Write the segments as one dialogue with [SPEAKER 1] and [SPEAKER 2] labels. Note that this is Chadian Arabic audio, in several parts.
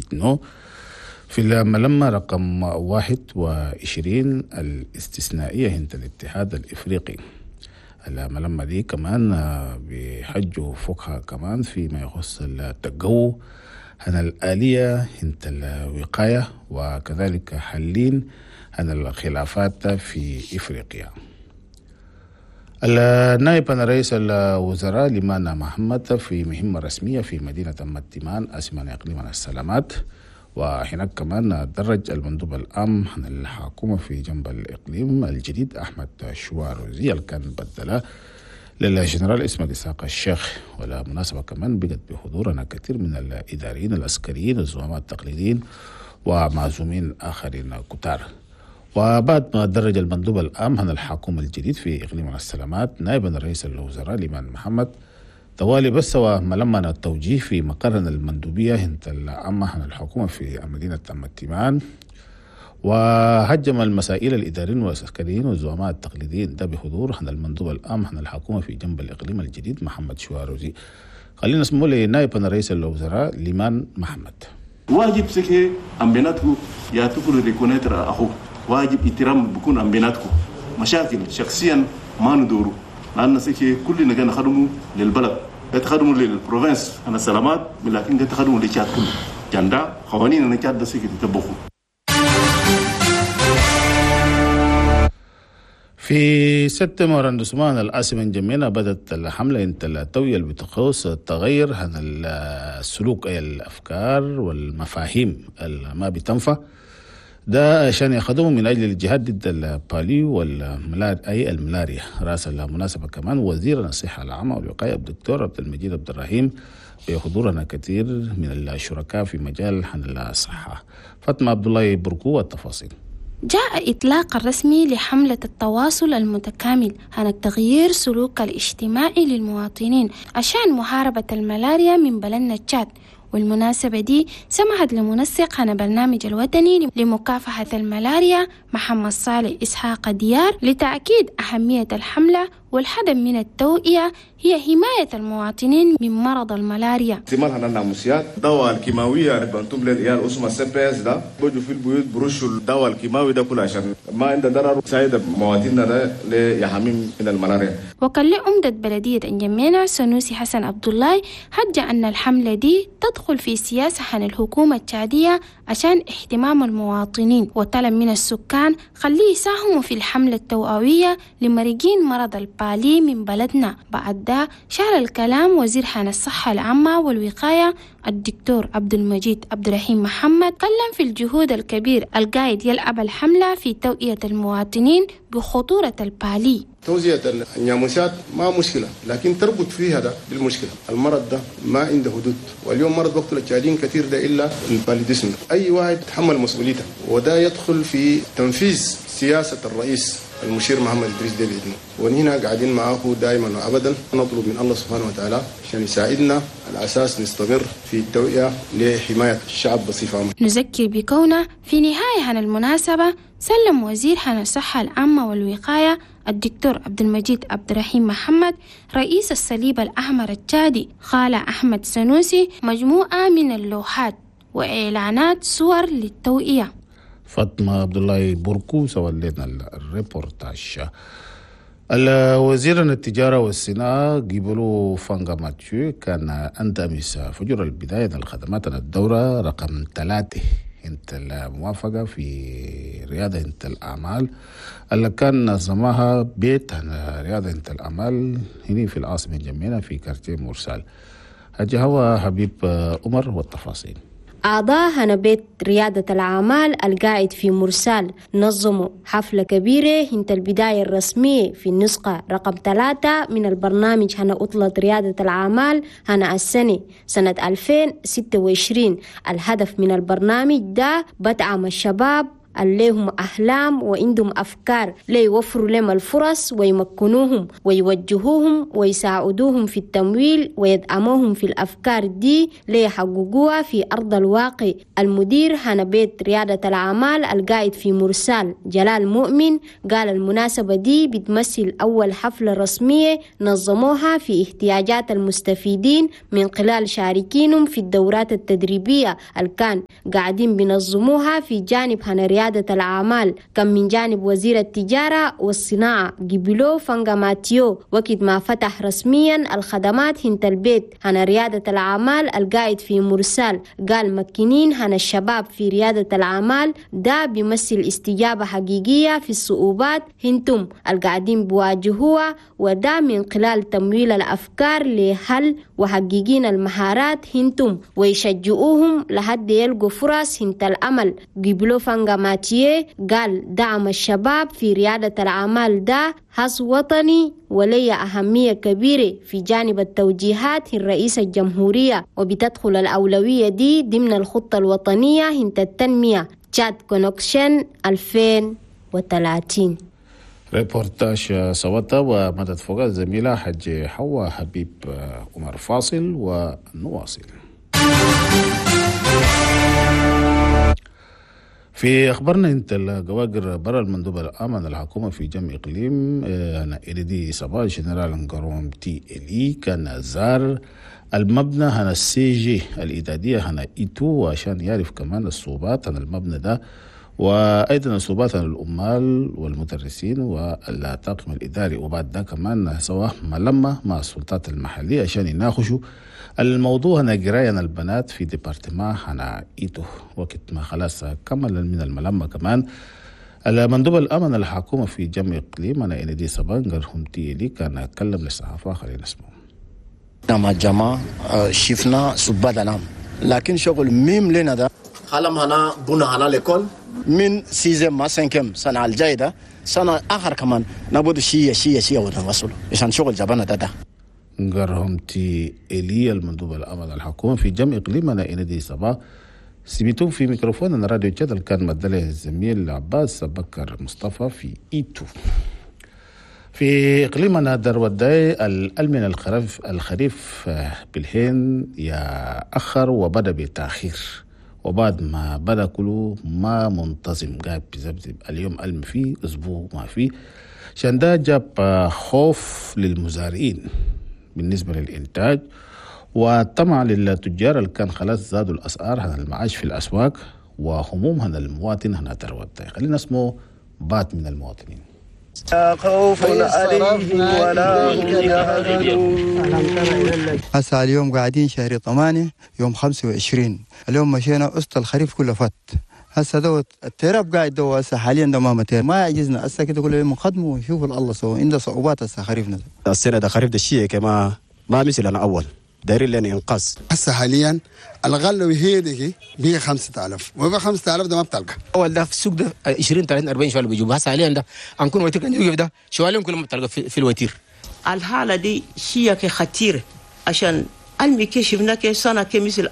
[SPEAKER 1] إتنو في الملمة رقم 21 الاستثنائية هنت الاتحاد الإفريقي. الملمة دي كمان بيحجوا فوقها كمان فيما يخص التجو عن الآلية هنت الوقاية وكذلك حلين عن الخلافات في إفريقيا. النائب رئيس الوزراء لمانا محمد في مهمة رسمية في مدينة متيمان أسمان إقليم السلامات، وهناك كمان درج المندوب العام عن الحكومة في جنب الإقليم الجديد أحمد شواروزي اللي كان بدله للجنرال اسمه إسحاق الشيخ. ولا مناسبة كمان بقت بحضورنا كثير من الإداريين العسكريين الزعماء التقليديين ومعزومين آخرين كتار. وبعد ما درج المندوب العام عن الحكومة الجديد في إقليم السلامات نائبا رئيس الوزراء ليمان محمد توالي بس وملمنا التوجيه في مقرنا المندوبية هنت العامة عن الحكومة في مدينة متيمان، وهجم المسائل الإداريين والعسكريين والزعماء التقليديين ده بحضور عن المندوب العام عن الحكومة في جنب الإقليم الجديد محمد شواروزي. خلينا نسمو لنائب رئيس الوزراء ليمان محمد.
[SPEAKER 2] واجب سكي أم بيناتكو يا تفل reconnaître أخوك، واجب احترام بكون أم بيناتكو، مشاكل شخصيا ما ندورو لأن سكي كلنا كان خدموا للبلد، تخدموا لل province أنا سلامات، لكن تخدموا لتشاد كله جندا قوانين أنا تشاد سكي تطبقوا.
[SPEAKER 1] في سبتمبر عندما العاصمة جميلة بدأت الحملة انت التوية اللي بتخص التغير عن السلوك أي الأفكار والمفاهيم اللي ما بتنفع ده عشان يخدموا من أجل الجهاد ضد البالي والملاريا أي الملاريا. رأس المناسبة كمان وزير الصحة العامة والوقاية الدكتور عبد المجيد عبد الرحيم بحضورنا كثير من الشركاء في مجال الصحة. فاطمة عبد الله بركو والتفاصيل.
[SPEAKER 3] جاء إطلاق الرسمي لحملة التواصل المتكامل عن التغيير سلوك الاجتماعي للمواطنين عشان محاربة الملاريا من بلدنا تشاد. والمناسبة دي سمحت لمنسق عن برنامج الوطني لمكافحة الملاريا محمد صالح إسحاق ديار لتأكيد أهمية الحملة والهدف من التوعية هي حماية المواطنين من مرض الملاريا.
[SPEAKER 4] استعمال هنا الناموسيات، الدواء الكيماوية بنتم للعيال اسمه CPS ده بيجوا في البيوت برشوا الدواء الكيماوي ده كله عشان ما عنده ضرر سايد مواطننا ده ليحميهم من الملاريا.
[SPEAKER 3] وكان لعمدة بلدية انجمينا سنوسي حسن عبد الله حج أن الحملة دي تدخل في سياسة عن الحكومة التشادية عشان اهتمام المواطنين، وطلب من السكان خليه يساهموا في الحملة التوعوية لمريضين مرض البالي من بلدنا. بعد ده شار الكلام وزير حان الصحة العامة والوقاية الدكتور عبد المجيد عبد الرحيم محمد قلم في الجهود الكبير القائد يلعب الحملة في توعية المواطنين بخطورة البالي.
[SPEAKER 5] توزيع الناموسات ما مشكلة، لكن تربط فيها ده بالمشكلة. المرض ده ما عنده حدود، واليوم مرض بقتل التشاديين كثير ده إلا ال paludisme. أي واحد يتحمل مسؤوليته، وده يدخل في تنفيذ سياسة الرئيس المشير محمد إدريس ديبي إتنو، ونحن قاعدين معه دائما وأبدا. نطلب من الله سبحانه وتعالى عشان يساعدنا على أساس نستمر في التوعية لحماية الشعب بصفة عامة.
[SPEAKER 3] نذكر بكونه في نهاية عن المناسبة سلم وزير عن الصحة العامة والوقاية الدكتور عبد المجيد عبد الرحيم محمد رئيس الصليب الأحمر التشادي خالة أحمد سنوسي مجموعة من اللوحات وإعلانات صور للتوعية.
[SPEAKER 1] فاطمة عبد الله بركو سولينا الريبورتاج. الوزير التجارة والصناعة جيبلو فانغا ماتيو كان أندمس فجر البداية الخدمات الدورة رقم 3 انت الموافقة في رياضة انت الأعمال اللي كان نظمها بيت رياضة انت الأعمال هنا في العاصمة الجميلة في كارتيه مرسال. هجي هو حبيب عمر والتفاصيل.
[SPEAKER 6] أعضاء هنا بيت ريادة الأعمال القاعد في مرسال نظموا حفلة كبيرة هنت البداية الرسمية في النسخة رقم 3 من البرنامج هنا أطلت ريادة الأعمال هنا السنة سنة 2026. الهدف من البرنامج ده بدعم الشباب الليهم أحلام وعندهم أفكار ليوفروا لهم الفرص ويمكنوهم ويوجهوهم ويساعدوهم في التمويل ويدعموهم في الأفكار دي ليحققوها في أرض الواقع. المدير هنا بيت ريادة الأعمال القائد في مرسال جلال مؤمن قال المناسبة دي بتمثل أول حفلة رسمية نظموها في احتياجات المستفيدين من خلال شاركينهم في الدورات التدريبية اللي كان قاعدين بنظموها في جانب هنا ريادة الأعمال. كان من جانب وزير التجارة والصناعة جبلو فانغا ماتيو وقت ما فتح رسميا الخدمات هنت البيت هنا ريادة الأعمال القائد في مرسال. قال مكنين هنا الشباب في ريادة الأعمال ده بيمثل استجابة حقيقية في الصعوبات هنتم القاعدين بواجهوها، وده من خلال تمويل الأفكار لحل وحقيقين المهارات هنتم ويشجعوهم لحد يلقوا فرص هنت الأمل. جبلو فانغا ماتيه قال دعم الشباب في ريادة الأعمال ده حظ وطني ولي أهمية كبيرة في جانب التوجيهات الرئيس الجمهورية، وبتدخل الأولوية دي ضمن الخطة الوطنية هنت التنمية تشاد كونكشن 2030.
[SPEAKER 1] ريبورتاج صوتا ومدد فوق الزميلة حج حوا حبيب عمر. فاصل ونواصل. في أخبارنا انت الجواجر برا المندوب الأمن الحكومة في جمع إقليم أنا إلدي صباح جنرال نقروم تي إلي كان زار المبنى هنا السي جي الإعدادية هنا إيتو عشان يعرف كمان الصعوبات هنا المبنى ده وأيضا الصعوبات عن العمال والمدرسين والطاقم الإداري. وبعد ده كمان سوا ملمة مع السلطات المحلية عشان يناقشوا الموضوع هنا قراية البنات في département هنا إيتو. وقت ما خلاص كمل من الملمة كمان المندوب الأمن الحكومة في جمع إقليم أنا إندي سبانجر هم تيلي كان أتكلم للصحافة. خلينا نسمع.
[SPEAKER 7] مع الجماعة شفنا سبات العام لكن شغل ميم لنا ده خلم هنا بنا هنا l'école من sixième ما cinquième سنة الجاية ده سنة آخر كمان نبود شيء شيء شيء ونوصله عشان شغل جبنا ده.
[SPEAKER 1] نقرهم تي إلي المندوب الأمن الحكومة في جمع إقليمنا إندي سبا سميتون في ميكروفون راديو جدل كان مدله الزميل عباس بكر مصطفى في إيتو. في إقليمنا دروداي الألمن الخريف بالهين يأخر وبدأ بتأخير، وبعد ما بدأ كله ما منتظم قاعد بزبزب اليوم ألم فيه أسبوع ما فيه، عشان ده جاب خوف للمزارعين بالنسبة للإنتاج وطمع للتجار اللي كان خلاص زادوا الأسعار هنا المعاش في الأسواق وهموم هنا المواطن هنا دروداي. خلينا اسمه بعض من المواطنين.
[SPEAKER 8] لا خوف عليهم ولا هم يحزنون.
[SPEAKER 9] هسه اليوم قاعدين شهر 8 يوم 25، اليوم مشينا وسط الخريف كله فات. هسه دوت التراب قاعد دو هسه حاليا ده ما متير ما عجزنا هسه كده كل يوم نخدمه ونشوف الله سوى عنده صعوبات هسه خريفنا.
[SPEAKER 10] السنه ده خريف ده الشيء كما ما مثل انا اول دايرين لنا انقاذ.
[SPEAKER 11] هسه حاليا الغلة وهي دي 5000 وب 5000 ده ما بتلقى.
[SPEAKER 12] اول ده في السوق ده 20 30 40 شوال بيجيبوا، هسه حاليا ده انكون وتير كان يوقف ده شوالين كلهم بتلقى في الوتير.
[SPEAKER 13] الحاله دي شيء خطير عشان المي كي شفنا كي سنه كي مثل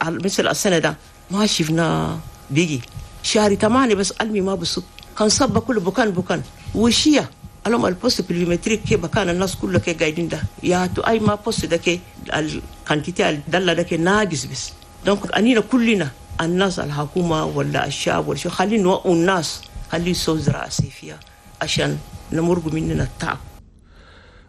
[SPEAKER 13] السنه ده ما شفنا بيجي شهر 8 بس المي ما بصب كان صب كله بكان وشيا اليوم ال poste pluviométrique كي بكان الناس كله كي قاعدين ده يا تو اي ما poste ده كي ال quantité الدله ده كي ناقص بس. donc انينا كلنا الناس الحكومه ولا الشعب ولا شو خلي نوقوا الناس خلي يسووا زراعه صيفيه عشان نمرق مننا التعب.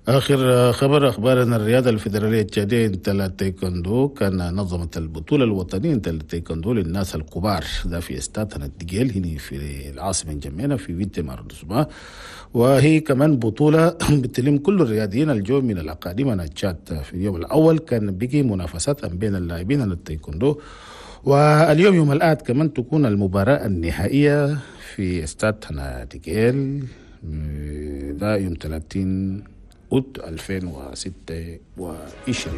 [SPEAKER 1] آخر خبر أخبارنا الرياضة الفيدرالية التشادية التايكوندو كان نظمت البطولة الوطنية التايكوندو للناس الكبار ده في استاد الدجيل هنا في العاصمة جميلة في huitième arrondissement، وهي كمان بطولة بتلم كل الرياضيين الجو من الأقاليم التشاد. في اليوم الأول كان بيجي منافسات بين اللاعبين التايكوندو، واليوم يوم الأحد كمان تكون المباراة النهائية في استاد الدجيل ده يوم 30 أوت 2026.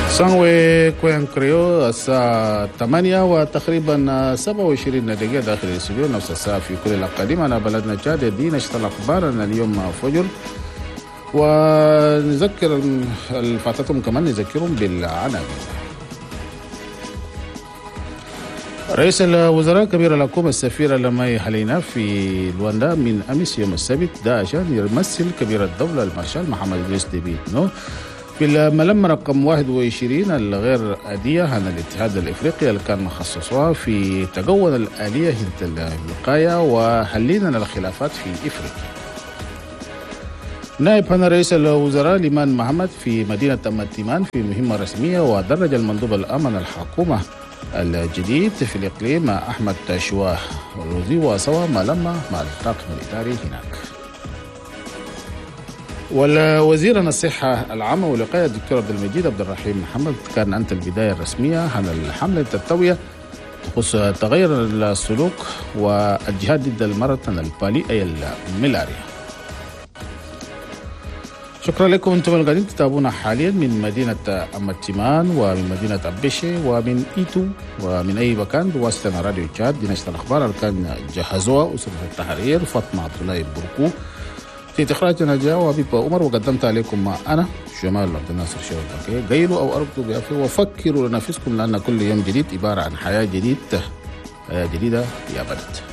[SPEAKER 1] سانوي كوين كريو الساعة 8 وتقريبا 27 دقيقة داخل الاستوديو، نفس الساعة في كل الأقاليم. أنا بلدنا تشاد دي نشطة أخبارنا اليوم فجر، ونذكر الفاتتهم كمان نذكرهم بالعناوين. رئيس الوزراء كبير الحكومة السفير لماي حلينا في لواندا من أمس يوم السبت ده عشان يمثل كبير الدولة المارشال محمد إدريس ديبي إتنو في الملم رقم 21 الغير عادية عن الاتحاد الإفريقي اللي كان مخصصها في تجون الآلية الوقاية وحلينا الخلافات في إفريقيا. نائب رئيس الوزراء ليمان محمد في مدينة أمتيمان في مهمة رسمية، ودرج المندوب الأمن الحكومة الجديد في الإقليم أحمد شواه روزي وسوى ما لما مع الطاقم الإداري هناك. والوزير الصحة العامة والوقاية الدكتور عبد المجيد عبد الرحيم محمد كان أنت البداية الرسمية عن الحملة التوعية تخص تغير السلوك والجهاد ضد المرض البالي أي الملاريا. شكرا لكم انتم القاعدين تتابعونا حاليا من مدينة أمتيمان ومن مدينة أبيشي ومن إيتو ومن أي مكان بواسطة راديو تشاد. دي نشرة الأخبار اللي كان جهزوها أسرة التحرير فاطمة عبد الله بركو في إخراج نجاة وحبيب عمر، وقدمت عليكم مع أنا جمال عبد الناصر شوقي. قيلوا أو أرقدوا بعافية وفكروا لنفسكم، لأن كل يوم جديد عبارة عن حياة جديدة، حياة جديدة يا بلد.